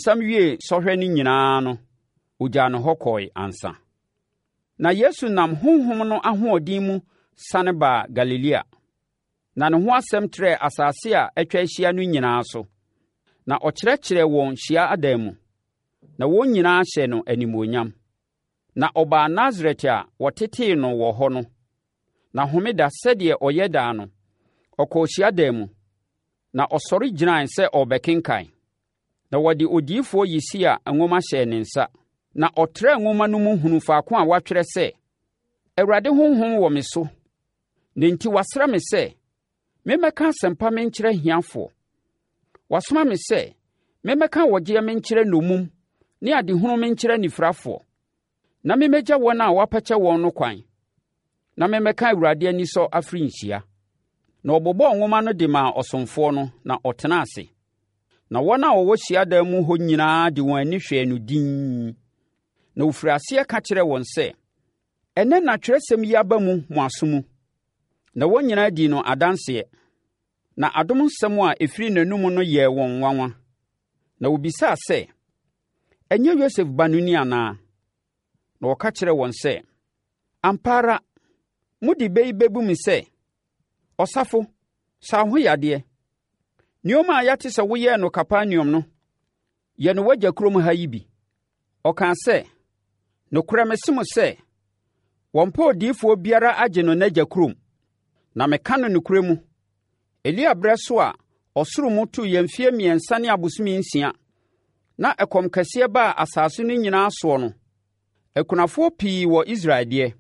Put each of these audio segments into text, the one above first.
Ɔbonsam wiee sɔhwɛ no nyinaa no, ɔgyaa no hɔ kɔe ansa. Na Yesu nam Honhom no ahoɔden mu sane baa Galilea. Na ne ho asɛm trɛɛ asase a atwa ahyia no nyinaa so. Na ɔkyerɛkyerɛɛ wɔn hyia adan mu, na wɔn nyinaa hyɛɛ no animuonyam. Na ɔbaa Nasaret a wɔtetee no wɔ hɔ no. Na homeda sɛdeɛ ɔyɛ daa no, ɔkɔɔ hyiadan mu, na ɔsɔre gyinae sɛ ɔrebɛkenkan. Na wɔde odiyifoɔ Yesaia nwoma hyɛɛ ne nsa. Na ɔtrɛɛ nwoma no mu hunuu faako a wɔatwerɛ sɛ, Awurade Honhom wɔ me so, na enti wasra me sɛ memmɛka asɛmpa menkyerɛ ahiafoɔ. Wasoma me sɛ memmɛka ɔgyeɛ menkyerɛ nnommum ne adehunu menkyerɛ anifirafoɔ, na memmɛgya wɔn a wɔapɛkyɛ wɔn no kwan, na memmɛka Awurade anisɔ afirinhyia. Na ɔbobɔɔ nwoma no de maa ɔsomfoɔ no, na ɔtenaa ase. Na wɔn a wɔwɔ hyiadan mu hɔ nyinaa de wɔn ani hwɛɛ no dinn. Na ɔfirii aseɛ ka kyerɛɛ wɔn sɛ, Ɛnnɛ na twerɛsɛm yi aba mu mo aso mu. Na wɔn nyinaa dii no adanseɛ. Na adom nsɛm a ɛfiri n'anom no yɛɛ wɔn nwanwa. Na wɔbisaa sɛ, Ɛnyɛ Yosef ba no ni anaa? Na ɔka kyerɛɛ wɔn sɛ, Ampa ara, mode bɛ yi bɛbu me sɛ, 'Ɔsafo, sa wo ho yadeɛ. Nneɛma a yɛate sɛ woyɛɛ no Kapernaum no, yɛ no w'agya kurom ha yi bi. Ɔkaa sɛ, Nokorɛ mese mo sɛ, wɔmpɛ odiyifoɔ biara agye no n'agya kurom. Na meka no nokorɛ mu, Elia berɛ so a ɔsoro mu toeɛ mfeɛ mmiɛnsa ne abosome nsia, na ɛkɔm kɛseɛ baa asase no nyinaa soɔ no, akunafoɔ pii wɔ Israel deɛ,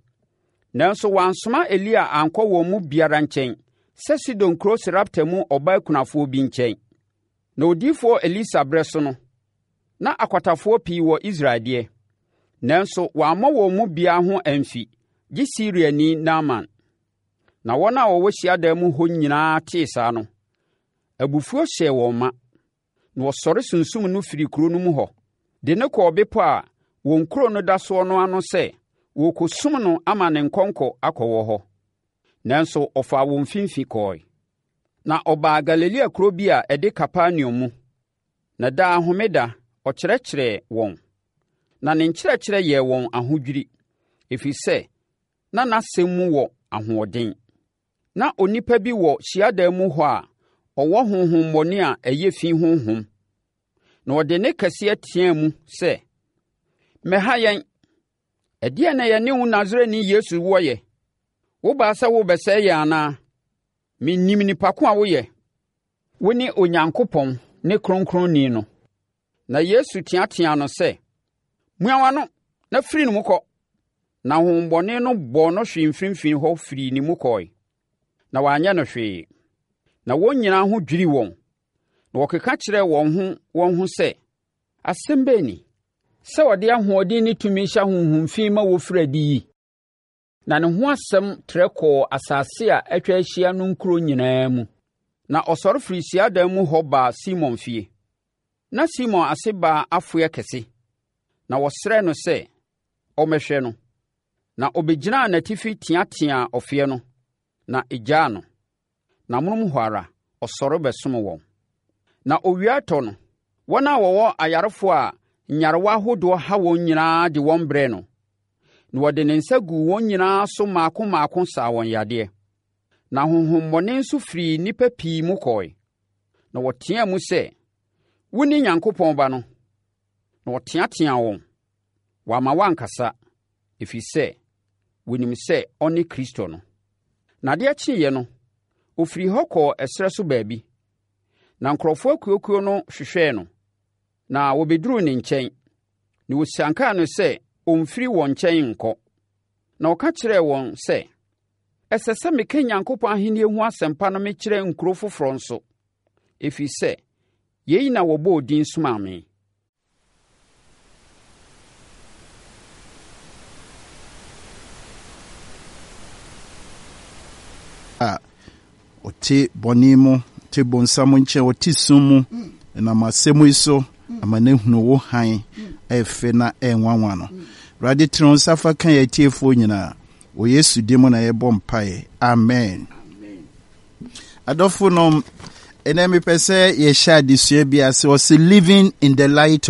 nanso wɔansoma Elia ankɔ wɔn mu biara nkyɛn sɛ Sidon kuro Sarepta mu ɔbaa kunafoɔ bi nkyɛn. Na odiyifoɔ Elisa berɛ so no, na akwatafoɔ pii wɔ Israel deɛ, nanso wammɔ wɔn mu biara ho amfi, gye Siriani Naaman. Na wɔn a wɔwɔ hyiadan mu hɔ nyinaa tee saa no, abufuo hyɛɛ wɔn ma, na wɔsɔre sunsum no firii kuro no mu hɔ, de no kɔɔ bepɔ a wɔn kuro no da soɔ no ano sɛ wɔrekɔsum no ama ne nkɔnkɔ akɔwɔ hɔ. Nanso ɔfaa wɔn mfimfini kɔɔe. Na ɔbaa Galilea kuro bi a ɛde Kapernaum mu, na daa homeda ɔkyerɛkyerɛɛ wɔn. Na ne nkyerɛkyerɛ yɛɛ wɔn ahodwiri, ɛfiri sɛ na n'asɛm mu wɔ ahoɔden. Na onipa bi wɔ hyiadan mu hɔ a ɔwɔ honhommɔne a ɛyɛ fi honhom, na ɔde nne kɛseɛ teaa mu sɛ, Mmɛha yɛn! Ɛdeɛn na yɛne wo Nasareni Yesu wɔ yɛ? Wobaa sɛ worebɛsɛe yɛn anaa? Menim nipa ko a woyɛ. Wone Onyankopɔn ne Kronkronni no. Na Yesu teateaa no sɛ, Mua w'ano na firi ne mu kɔ! Na honhommɔne no bɔɔ no hwee mfimfini hɔ firii ne mu kɔe, na wanyɛ no hwee. Na wɔn nyinaa ho dwirii wɔn, na wɔkeka kyerɛɛ wɔn ho wɔn ho sɛ, Asɛm bɛn ni? Sɛ ɔde ahoɔden ne tumi hyɛ ahonhom fi ma wɔfiri adi yi? Na ne ho asɛm trɛ kɔɔ asase a atwa ahyia no nkuro nyinaa mu. Na ɔsɔre firii hyiadan mu hɔ baa Simon fie. Na Simon ase baa afoɛ kɛse, na wɔsrɛɛ no sɛ ɔmmɛhwɛ no. Na ɔbɛgyinaa n'atifi teateaa ɔfeɛ no, na ɛgyaa no. Na amonom hɔ ara, ɔsɔre bɛsom wɔn. Na owia retɔ no, wɔn a wɔwɔ ayarefoɔ a nyarewa ahodoɔ ha wɔn nyinaa de wɔn brɛɛ no, na ɔde ne nsa guu wɔn nyinaa so mmaako mmaako saa wɔn yadeɛ. Na honhommɔne nso firii nnipa pii mu kɔe, na wɔteaa mu sɛ, Wone Nyankopɔn Ba no! Na ɔteateaa wɔn, wamma wɔankasa, ɛfiri sɛ wɔnim sɛ ɔne Kristo no. Na adeɛ kyeeɛ no, ɔfirii hɔ kɔɔ ɛserɛ so baabi. Na nkurɔfoɔ akuakuo no hwehwɛɛ no, na wɔbɛduruu ne nkyɛn, na wɔsiankaa no sɛ ɔmfiri wɔn nkyɛn nkɔ. Na ɔka kyerɛɛ wɔn sɛ, Ɛsɛ sɛ meka Nyankopɔn ahennie ho asɛmpa no mekyerɛ nkuro foforɔ nso, ɛfiri sɛ yei na wɔbɔɔ din somaa me. A ɔte bɔne mu, ɔte bonsam nkyɛn, ɔte sum mu, ɛnam asɛm yi so ama no ahunu wo hann a ɛfɛ na ɛnwanwa no. Awurade tene wo nsa fa ka yɛn atiefoɔ nyinaa. Wɔ Yesu din mu na yɛbɔ mpaeɛ. Amen. Adɔfo nom, ɛnɛ mepɛ sɛ yɛhyɛ adesua bi ase. Ɔse living in the light.